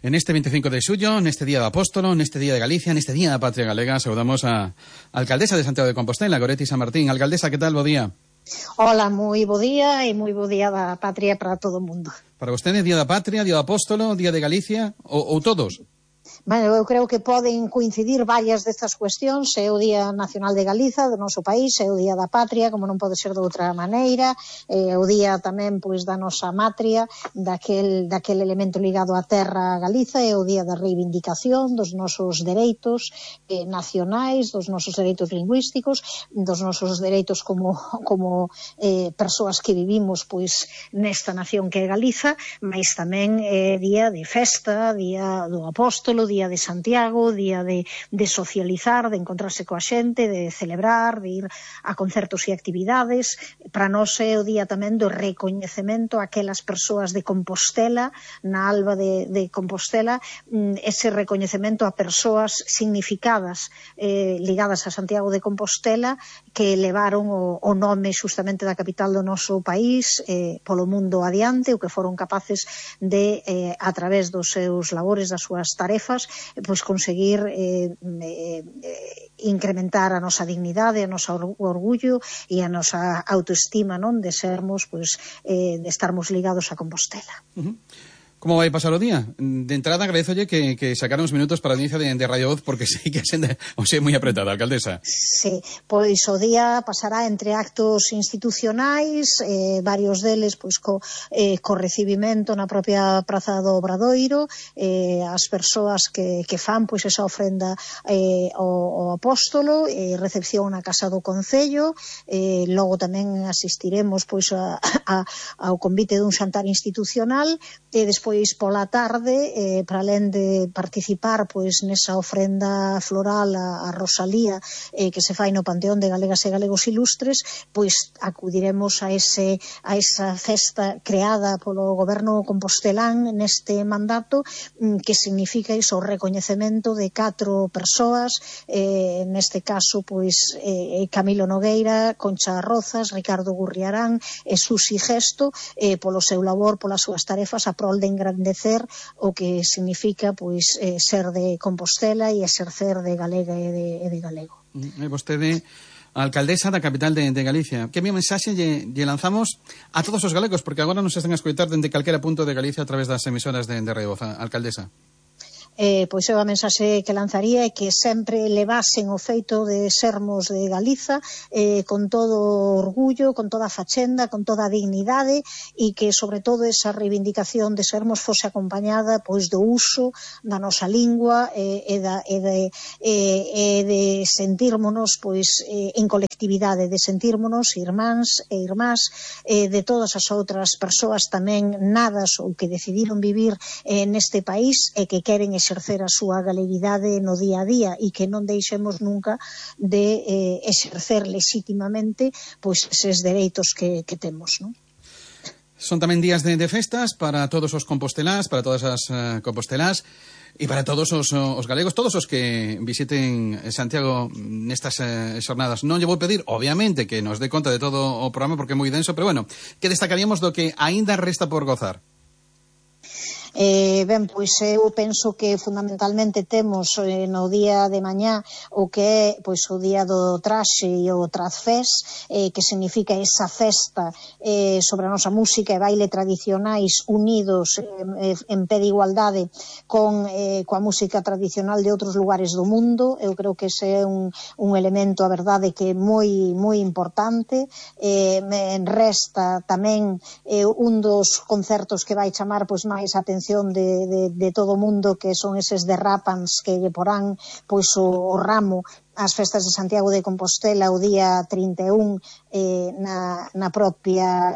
En este 25 de xullo, neste Día do Apóstolo, neste Día de Galicia, neste Día da Patria Galega, saudamos a alcaldesa de Santiago de Compostela, Goretti San Martín. Alcaldesa, que tal? Bo día. Hola, moi bo día e moi bo día da patria para todo o mundo. Para vostede, Día da Patria, Día do Apóstolo, Día de Galicia ou todos? Bueno, eu creo que poden coincidir varias destas cuestións. É o Día Nacional de Galiza, do noso país, é o Día da Patria, como non pode ser de outra maneira, é o Día tamén pois da nosa matria, daquel elemento ligado á terra Galiza, é o Día da reivindicación dos nosos dereitos nacionais, dos nosos dereitos lingüísticos, dos nosos dereitos como persoas que vivimos pois nesta nación que é Galiza, mas tamén é día de festa, día do Apóstolo, día de Santiago, día de socializar, de encontrarse coa xente, de celebrar, de ir a concertos e actividades. Para nós é o día tamén do recoñecemento a aquelas persoas de Compostela, na alba de Compostela, ese recoñecemento a persoas significadas ligadas a Santiago de Compostela que levaron o nome xustamente da capital do noso país polo mundo adiante, o que foron capaces de, a través dos seus labores, das súas tarefas, pois conseguir incrementar a nosa dignidade, a nosa orgullo e a nosa autoestima, non, de sermos, pois, de estarmos ligados a Compostela. Como vai pasar o día? De entrada, agradézolle que sacara uns minutos para a audiencia de Radio Voz, porque sei que a xenda é moi apretada, alcaldesa. Sí, pois o día pasará entre actos institucionais, varios deles pois co recibimento na propia Praza do Obradoiro, as persoas que fan pois esa ofrenda ao Apóstolo, recepción na Casa do Concello, logo tamén asistiremos pois ao convite dun xantar institucional, e despois pola tarde, para alén de participar pois nesa ofrenda floral a Rosalía que se fai no Panteón de Galegas e Galegos Ilustres, pois acudiremos a esa festa creada polo goberno compostelán neste mandato, que significa iso, o recoñecemento de 4 persoas, neste caso pois Camilo Nogueira, Concha Rozas, Ricardo Gurriarán e Susi Gesto, polo seu labor, polas súas tarefas a prol de engrandecer o que significa pois ser de Compostela e exercer de galega e de galego. Vostede, a alcaldesa da capital de Galicia, que mi mensaxe lle lanzamos a todos os galegos, porque agora nos están a escoitar dende calquera punto de Galicia a través das emisoras de Radio Voz, alcaldesa? Pois eu a mensaxe que lanzaría é que sempre levasen o feito de sermos de Galiza con todo orgullo, con toda a fachenda, con toda a dignidade, e que sobre todo esa reivindicación de sermos fose acompañada pois do uso da nosa lingua e de sentírmonos pois en colectividade, de sentírmonos irmáns e irmás de todas as outras persoas tamén nadas ou que decidiron vivir neste país e que queren exercer a súa galeguidade no día a día e que non deixemos nunca de exercer legítimamente pois eses dereitos que temos, non? Son tamén días de festas para todos os compostelás, para todas as compostelás e para todos os galegos, todos os que visiten Santiago nestas xornadas. Non lle vou pedir, obviamente, que nos dé conta de todo o programa porque é moi denso, pero bueno, que destacaríamos do que aínda resta por gozar? Ben, pois eu penso que fundamentalmente temos no día de mañá o que é pois o día do traxe e o Trazfés, que significa esa festa sobre a nosa música e baile tradicionais unidos en pé de igualdade coa música tradicional de outros lugares do mundo. Eu creo que ese é un elemento, a verdade, que é moi importante. Me resta tamén un dos concertos que vai chamar pois máis a atención de todo o mundo, que son eses derrapans que lle porán pois o ramo ás festas de Santiago de Compostela o día 31 na propia